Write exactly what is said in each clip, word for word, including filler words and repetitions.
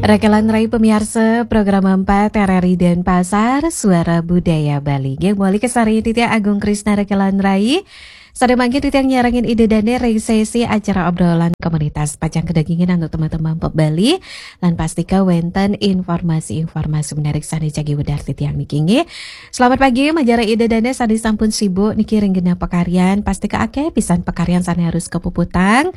Rekelan Rai pemiarsa, program empat R R I Denpasar, Suara Budaya Bali. Nggih, mawali kasarengin titiang Agung Krisna Rekelan Rai. Sané mangkin titiang nyarengin Ida Dané ring sesi acara obrolan komunitas pacang kadagingin antuk teman-teman pop Bali. Lan pastika wénten informasi-informasi menarik sané jagi wedar titiang niki nggih. Selamat pagi, majeng Ida Dané sané sampun sibuk niki ring genah pakaryan. Pastika akéh pisan pakaryan sané harus kapuputang.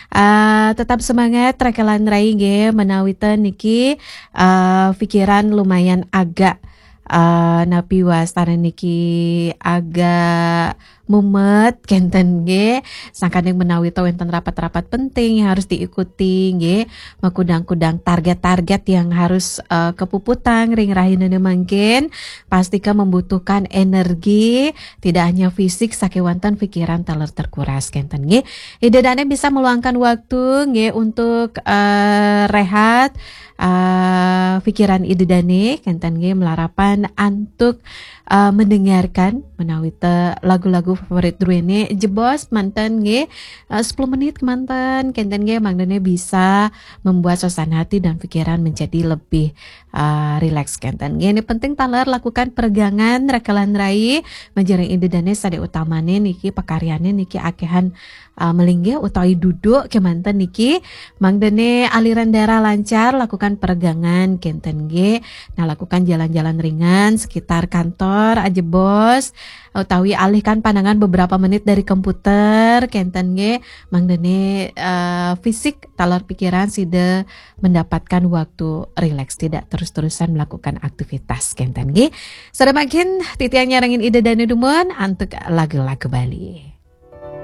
Ah, tetap semangat, Rekelan Rai nggih, menawi ten niki, ah, pikiran lumayan agak, ah, napi wastané niki agak mumet, kénten nggih. Sangkaning menawi ten wénten rapat-rapat penting yang harus diikuti nggih, makudang-kudang target-target yang harus, ah, kapuputang ring rahinané mangkin, pastika membutuhkan energi, tidak hanya fisik, sakéwanten pikiran taler terkuras, kénten nggih. Ida Dané bisa meluangkan waktu nggih untuk, eh, rehat, eh, pikiran Ida Dané, kénten nggih, malarapan antuk, eh, mendengarkan menawi ten lagu-lagu favorit druéné jebos manten nggih, eh, sepuluh menit manten, kénten nggih, mangdané bisa membuat suasana hati dan pikiran menjadi lebih, eh, rileks, kénten nggih. Ini penting taler lakukan peregangan, Rekelan Rai, majeng Ida Dané sané utamané niki pakaryané niki akéhan, ah, malinggih utawi duduk kémanten niki, mangdané aliran darah lancar, lakukan peregangan, kénten nggih. Nah, lakukan jalan-jalan ringan sekitar kantor, ajebos, utawi alihkan pandangan beberapa menit dari komputer, kénten nggih, mangdané, eh, fisik taler pikiran sida mendapatkan waktu rileks, tidak terus-terusan melakukan aktivitas, kénten nggih. Sané mangkin titiang nyarengin Ida Dané dumun antuk lagu-lagu Bali.